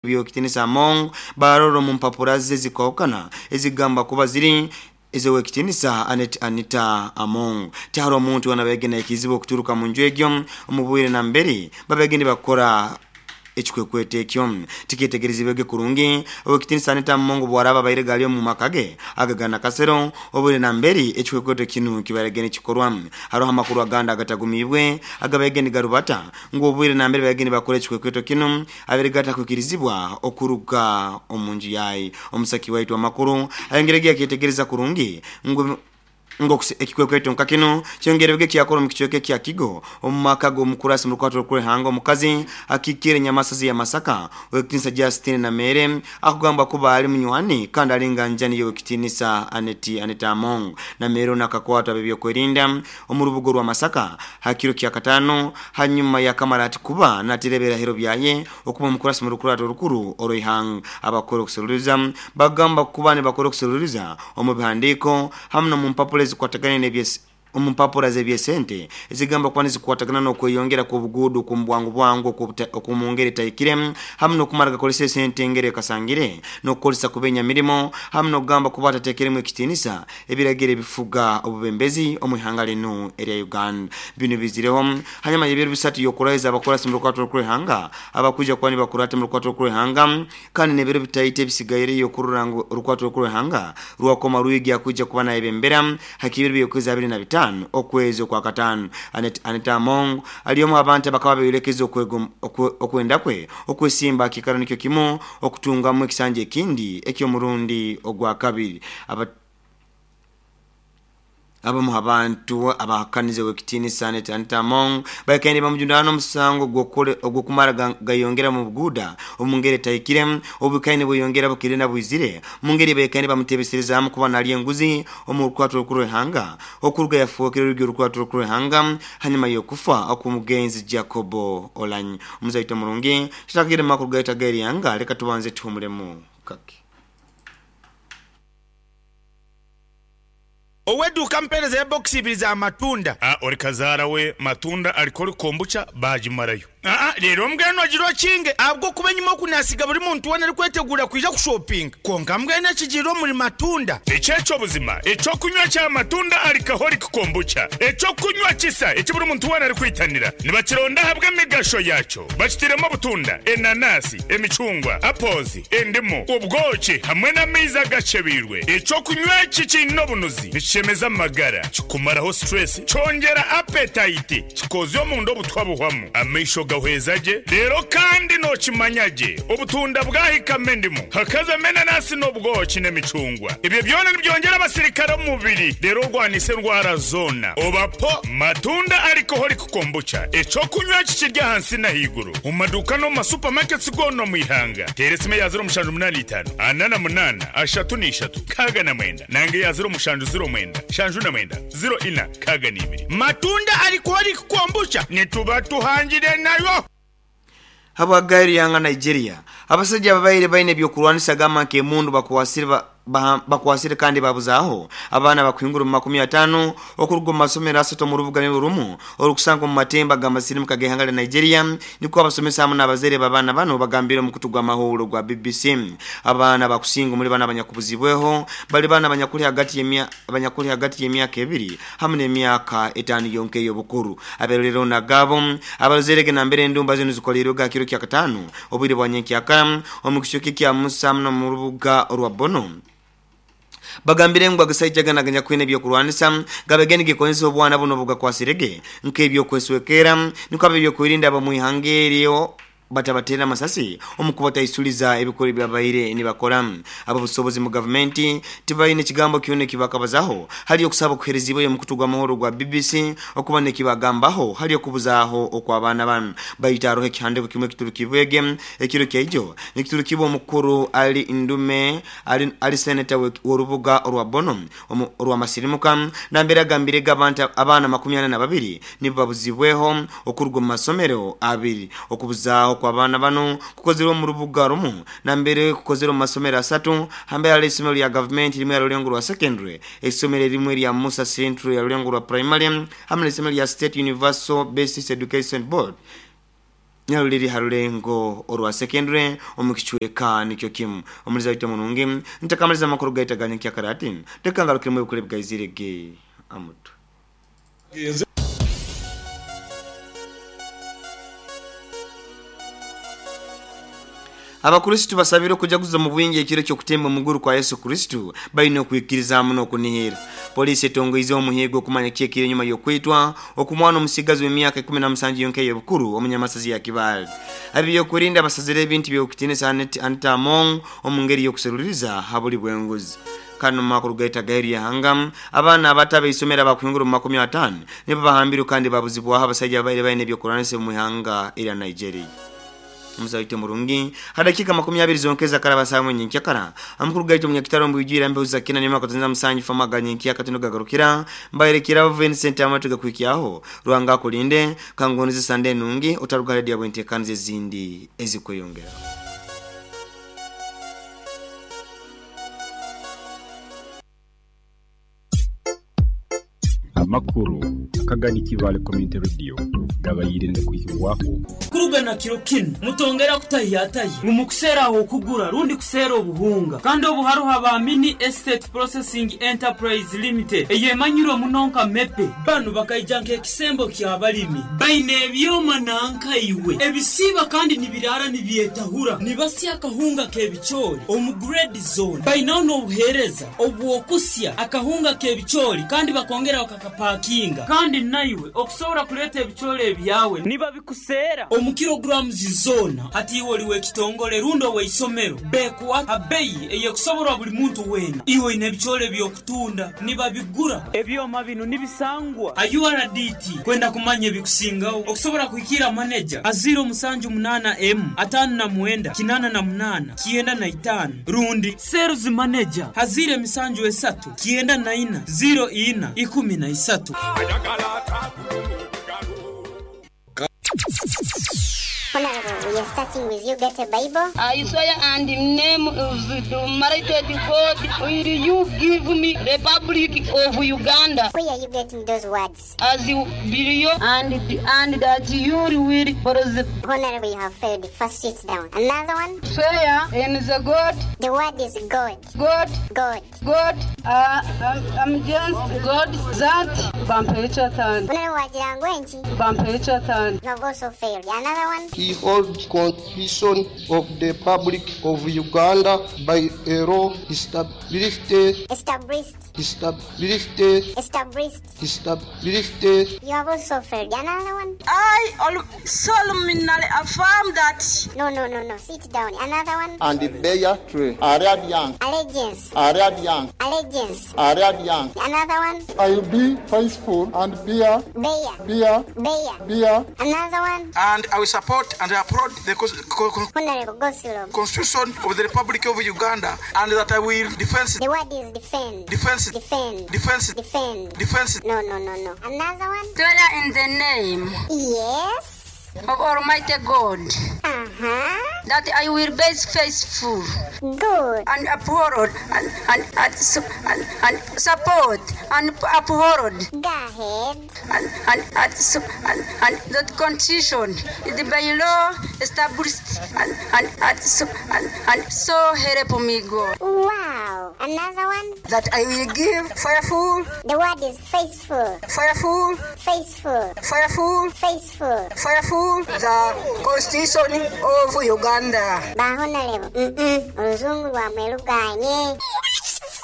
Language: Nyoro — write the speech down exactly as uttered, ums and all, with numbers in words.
Byokitinisa Among baroro mu mpapura ze zikokana ezigamba kuba ziri ezowekitinisa Anet Anita Among. Tiharo omuntu anabegena ekizibu okuturuka mu nju egyo omubwire na mbere babegeni bakora ekikwekwete ekyo tikyetegerezibwege kurungi. Owekitinisa Anita Among bwaraba baire gali omu makage agagana kasero obwire na mbere ekikwekwete kinu kibaregene kikorwa. Haroho amakuru aganda agatagumibwe agabegeni garubata ngu obwire na mbere bageni bakora ekikwekwete kinu abere gatakwikirizibwa okuruga omu nju yayi. Omusaki waitu amakuru ayengerege akyetegereza kurungi ngu ngo ekikwekweto nka kino kyongerebwe kyakora mu kichweke kya Kigo omu maka g'omukurasi mu rukwato rw'ihanga omukazi akikire nyamasazi ya Masaka wekitinisa Justin na Mere akugamba kuba ali munywani kandi alinga njani yowekitinisa Aneti Anita Among na Mere nakakwata bebyokwerinda omu rubugo rwa Masaka hakiro kya katano hanyuma ya kamarati kuba natirebera hero byaye okuba omukurasi mu rukwato rukuru oroihanga. Abakora okuseruliza bagamba kuba ne bakora okuseruliza omu bihandiko hamwe no mu mpapuro zikwatagana n'ebyes omu mpapura z'ebyesente ezigamba kuba nizikwatagana n'okweyongera kw'obuguudo okw'omu bwangu okw'omu ngeri etahikire hamwe n'okumara gakozesa esente engeri ekasangire n'okukozesa kubenya mirimo hamwe n'okugamba kuba atateekeremu ekitiinisa ebiragiro ebifuga obubembezi omu ihanga linu erya Uganda. Binu bizireho hanyuma y'ebiro bisatu y'okuraiza abakurasi mu rukwato rw'ihanga abakwija kuba nibakurata mu rukwato rw'ihanga kandi n'ebiro bitaito ebisigaire okurora ngu orukwato rw'ihanga rwakoma rwigi akwija kuba nayebembera hakibiro by'okwezi abiri na bitano okwezi okwa katano. Anet, Anita Among aliomu abantu abakaba berekeza okwenda kwe okwesimba kikaro nikyo kimu okutungamu ekisanja ekindi ekyomurundi ogwa kabiri. Aba abamu abantu abahakanize wekitinisa Anita Anita Among bakende bamujundana omusango ogwokumara gayongera mu buguda omu ngeri etahikire obukaine bweyongera bukire na bwizire mu ngeri bekende bamutebeserezamu kuba nali enguzi omu rukwato rukuru rw'ihanga okuruga yafuukire orugi orukwato rukuru rw'ihanga hanyuma y'okufa okw'omugenzi Jacobo Olanyi. Omuzaito murungi tutakire makuru gaita g'eryanga, leka tubanze tuhumulemu kake. Oweduuka mpereza ebokisi ibiri za matunda. Ah, ori kazaara we matunda alikoli kombucha bagimarayo. Aa leero mbwenu ogira okinge ahabw'okuba enyima oku nasiga buri muntu weena arikwetegura kwija kushopinga konka mbwenu ekigiire omuri matunda. Ekyekyo buzima ekyokunywa kya matunda alcoholic kombucha ekyokunywa kisa eki buri muntu weena arikwitanira nibakironda ahabw'emigasho yakyo bakitiremu obutunda, enanasi, emicungwa, apples, endimu, obwoki hamwe n'amaizi agacebeirwe. Ekyokunywa eki kiine obunuzi nikishemeza amagara, kikumaraho stress, kyongera appetite, kikozya omunda obutwa buhwamu, amaisho gahweza gye. Rero kandi nokimanya gye obutunda bwahikamo endimu hakazamu enanasi n'obwoki n'emicungwa, ebyo byona nibyongera abasirikare omu mubiri rero orwanisa endwara zoona. Obapo matunda alcoholic kombucha ekyokunywa kikirya ahansi n'ahaiguru omu maduuka n'omu masupamaketi goona omu ihanga. Teera esimu eya ziro mushanju munaana itaano ana na munaana ashatu n'ishatu kaaga na mwenda nange eya ziro mushanju ziro mwenda shanju na mwenda ziro ina kaaga n'ibiri. Matunda alcoholic kombucha nituba tuhangire nayo. Habwagairi yanga Nigeria abasajja ababaire baine ebyokurwanisa gamba nk'emundu bakwasire bakwasire kandi babuzaho abaana bakuhingura mu makumi atano okuruga mu masomero asatu mu rubuga rumu orukusanga mu matemba g'amasirimu kagehanga lya Nigeria. Niko abasomesa hamwe n'abazaire b'abaana bano bagambire omukutu gw'amahoro gwa B B C. Abaana bakusinga muri bana abanyakubuzibweho bali bana abanyakuli hagati y'emya abanyakuli hagati y'emyaka ebiri hamwe n'emyaka etano yonke y'obukuru. Aberero nagabo abazaire nambere endumba zino zikolirwe ga kiro kya katano obwire bwa nyenkyakara omu kichoke kya Musa no mu rubuga rwa Bono bagambire ngu agasaija ganaganya kwine ebyokurwanisa gabegeni gikozesa obwana buno bugakwasirege nk'ebyokweswekera niko abe ebyokwerinda abamwihanga eryo batabatera amasasi omukubataisuliza ebikoro byabaire nibakora. Abo busobozi mu gavumenti tibaine ekigambo kyona ekibakabazaho hali okusaba okuherezibwa omukutu gw'amahoro gwa B B C okuba nekibagambaho hali okubuzaaho okw'abaana bano. Baita haroho ekihandiko kimwe ekiturukibwege ekiro kyaijo nikiturukibwa omukuru Ali Ndume ali, ali seneta w'orubuga orwa Bono orwamasirimuka nambere agambirege abantu abaana makumi ana na babiri nibo babuzibweho okuruga omu masomero abiri. Okubuzaaho kw'abaana bano kukozerwe mu rubuga rumu nambere kukozerwe mu masomero asatu hambere hali isomero lya gavumenti limwe lya Rulengo rwa secondary, isomero limwe lya Musa Central ya Rulengo rwa primary hamwe n'isomero lya State Universal Basic Education Board. Nyaruliri harulengo orwa secondary omukichweka nikyo kimu omuliza wite munungi ntakamaliza makuru gaita ganyikia karati tekangalukire mu bukule bwaizirege amutu. Abakristo basabire kujaguza mu bwingi ekiro cyo kutemba muguru kwa Yesu Kristo bayino kuikiriza muno kunihira. Polisi etongoize omuhigo kumanya kyekire nyuma yokwitwa okumwana omusigazi w'emyaka ikumi na musanju yonke yobukuru omunyamasazi ya Kibale. Abiyo kurinda basazire ebintu byokutinisa Anita Among omungeri yokuseruriza habuli bwenguzi. Kano makuru gaita gairi ya hangam abana abatabe isomera bakuhingura mu makumi atano nibo bahambiru kandi babuzibwa abasajja baire baine byokuranise mu hanga ila Nigeria. Mzaite murungi hadakika makumi abiri zonkeza karaba saa nyinkya amukuru gaito munyakitaro mbujira mbe uzakina nyuma kutanza musanji famaga nyinkya katuno gagarukira mbayerekira Vincent amatuga kwikiaho ruanga kulinde kangonize sande nungi utaruga radio bwente kanze zindi ezikweyongera. Amakuru akagani Kibale Community Radio gabayirinde kuyiwaho kurugana kiro kino mutongera kutayataye ngumukusera aho kugura rundi kusera obuhunga kandi obuharuha ba Mini Estate Processing Enterprise Limited eyemanyiro munonka mepe banu bakaijanka ekisembo kya balimi baine ebyoma nanka iwe ebisiba kandi nibirara nibyetahura nibasya akahunga kebichori omu grade zone bainaho n'obuhereza obwokusya akahunga kebichori kandi bakongera bakakapakinga kandi naiwe okusobora kuleta ebichori ebyawe niba bikusera omu kilograms zona hati iwe oliwe ekitongole rundo weisomero bekuwa abeyi eyekusoborwa buli muntu wena iwe ine ebichori ebyokutunda niba bigura ebyoma bino nibisangwa a U R D T kwenda kumanya ebikusingaho okusobora kuhikira manager a zero musanju munana M atano na mwenda kinana na munana kienda na itano rundi sales manager hazire misanju esatu kienda na ina zero ina ikumi na isatu. Honorable, we are starting with you. Get a Bible. I swear and in the name of the Almighty God, will you give me Republic of Uganda? Where are you getting those words? As you believe and and that you will prosper. Honorable, you have failed. First, sit down. Another one. Swear in the God. The word is God. God. God. God. Uh, I'm, I'm just God that. Honorable, you have also failed. Another one. He holds Constitution of the Republic of Uganda by a law established, established, established, established, established. You have also failed. Another one. I solemnly affirm that. No, no, no, no. Sit down. Another one. And the bear tree. Arabian. Allegiance. Arabian. Allegiance. Arabian. Another one. I will be faithful and bear. Bear. Bear. Bear. Bear. Another one. And I will support and applaud the Constitution of the Republic of Uganda, and that I will defend. The word is defend. Defense. Defend. Defense. Defend. Defense. No, no, no, no. Another one. Swear in the name. Yes. Of Almighty God. Uh-huh. That I will be faithful. Good. And uphold and and and, and, and support and uphold. Go ahead. And and and, and, and the Constitution is by law established and and and, and, and so help me God. Wow. Another one. That I will give faithful. The word is faithful. Faithful. Faithful. Faithful. Faithful. Faithful. The Constitution of Uganda. Ba Honorable. Mm-mm. Oluzungu lwamwe luganye.